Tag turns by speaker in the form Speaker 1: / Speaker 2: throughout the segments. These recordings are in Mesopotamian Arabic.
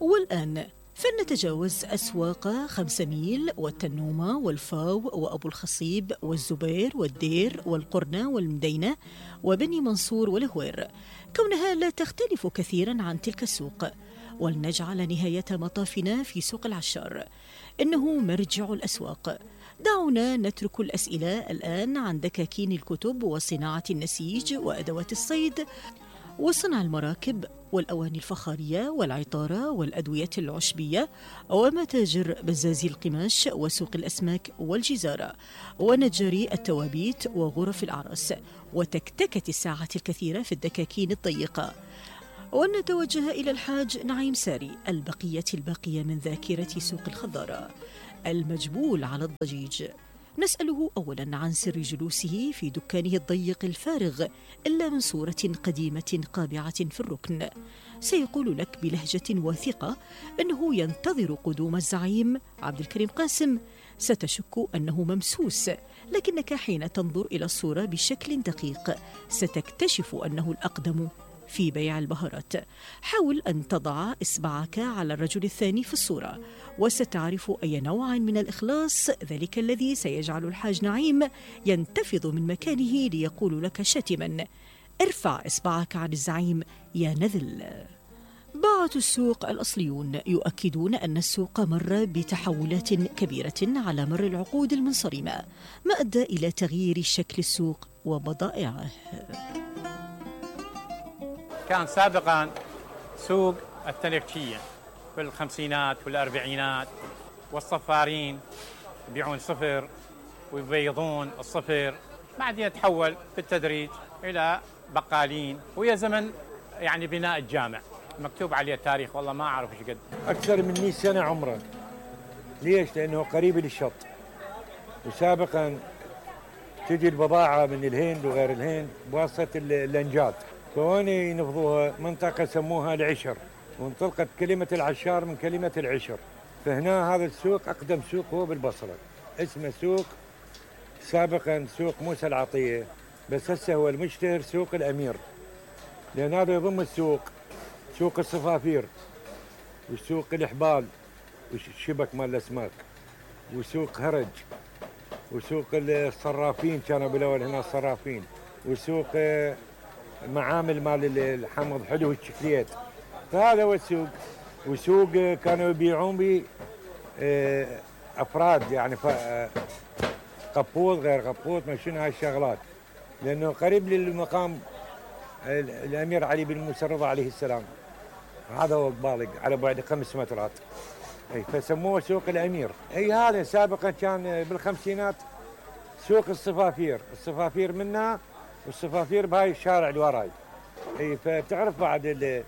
Speaker 1: والآن فلنتجاوز أسواق 5 ميل والتنومة والفاو وأبو الخصيب والزبير والدير والقرنة والمدينة وبني منصور والهوير، كونها لا تختلف كثيرا عن تلك السوق. ولنجعل نهاية مطافنا في سوق العشار، إنه مرجع الأسواق. دعونا نترك الأسئلة الآن عن دكاكين الكتب وصناعة النسيج وأدوات الصيد وصنع المراكب والأواني الفخارية والعطارة والأدوية العشبية ومتاجر بزازي القماش وسوق الأسماك والجزارة ونجاري التوابيت وغرف الأعراس وتكتكة الساعات الكثيرة في الدكاكين الضيقة. ونتوجه إلى الحاج نعيم ساري، البقية الباقية من ذاكرة سوق الخضارة، المجبول على الضجيج. نسأله أولا عن سر جلوسه في دكانه الضيق الفارغ إلا من صورة قديمة قابعة في الركن. سيقول لك بلهجة واثقة أنه ينتظر قدوم الزعيم عبد الكريم قاسم. ستشك أنه ممسوس، لكنك حين تنظر إلى الصورة بشكل دقيق ستكتشف أنه الأقدم في بيع البهارات. حاول أن تضع إصبعك على الرجل الثاني في الصورة وستعرف أي نوع من الإخلاص ذلك الذي سيجعل الحاج نعيم ينتفض من مكانه ليقول لك شاتما: ارفع إصبعك عن الزعيم يا نذل. باعة السوق الأصليون يؤكدون أن السوق مر بتحولات كبيرة على مر العقود المنصرمة، ما أدى إلى تغيير شكل السوق وبضائعه.
Speaker 2: كان سابقا سوق التنكشية في الخمسينات والأربعينات، والصفارين يبيعون صفر ويبيضون الصفر، بعدين تحول بالتدريج إلى بقالين، ويا زمن يعني بناء الجامع مكتوب عليه تاريخ والله ما أعرف إيش قد،
Speaker 3: أكثر من 100 سنة عمره. ليش؟ لأنه قريب للشط، وسابقا تجي البضاعة من الهند وغير الهند بواسطة اللنجات، فهون ينفضوها منطقة سموها العشر، وانطلقت كلمة العشار من كلمة العشر. فهنا هذا السوق أقدم سوق هو بالبصرة، اسمه سوق سابقا سوق موسى العطية، بس هسه هو المشتهر سوق الأمير، لأن هذا يضم السوق سوق الصفافير وسوق الإحبال والشبك مال الأسماك وسوق هرج وسوق الصرافين، كانوا بالأول هنا الصرافين، وسوق معامل مال الحمض حلو الشكليات. فهذا هو السوق. وسوق كانوا يبيعون به أفراد، يعني قبوط غير قبوط، ما شنو هاي الشغلات، لأنه قريب للمقام الأمير علي بن موسى الرضا عليه السلام، هذا هو قبالق على بعد 5 مترات، فسموه سوق الأمير. هذا سابقا كان بالخمسينات سوق الصفافير، الصفافير منها والصفافير بهاي الشارع اللي وراي. فتعرف بعد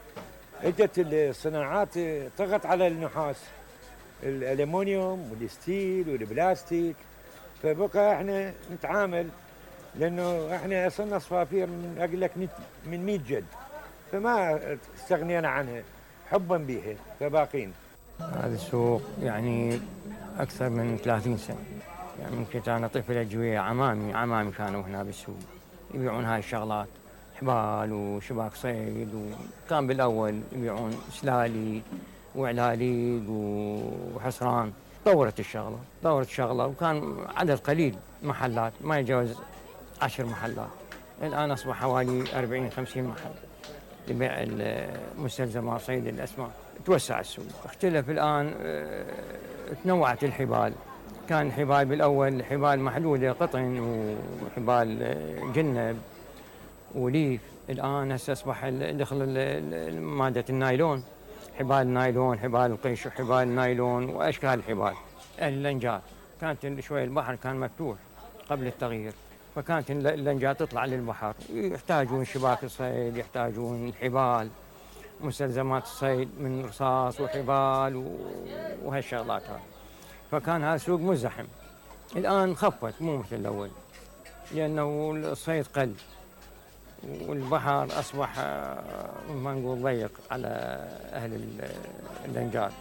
Speaker 3: اجت الصناعات طغت على النحاس، الالومنيوم والستيل والبلاستيك، فبقى احنا نتعامل، لانه احنا صرنا صفافير من اقول لك من 100 جد، فما استغنينا عنها حبا بها فباقين.
Speaker 4: هذا السوق يعني اكثر من 30 سنه، يعني ممكن انا طفل اجويه، عمامي كانوا هنا بالسوق يبيعون هاي الشغلات، حبال وشباك صيد، وكان بالاول يبيعون سلالي وعلاليق وحصران. طورت الشغله وكان عدد قليل محلات، ما يتجاوز 10 محلات، الان اصبح حوالي 40-50 محل لبيع مستلزمات صيد الاسماك. توسع السوق، اختلف الان، تنوعت الحبال. كان الحبال بالاول حبال محلوله قطن وحبال جنب وليف، الان هسه اصبح دخل ماده النايلون، حبال نايلون، حبال القش وحبال نايلون واشكال الحبال. اللنجات كانت شوي البحر كان مفتوح قبل التغيير، فكانت اللنجات تطلع للبحر، يحتاجون شباك الصيد، يحتاجون الحبال، مستلزمات الصيد من رصاص وحبال وهالشغلات هاي. فكان هذا السوق مزدحم. الآن خفت مو مثل الأول، لأنه الصيد قل والبحر أصبح ما نقول ضيق على أهل اللنجات.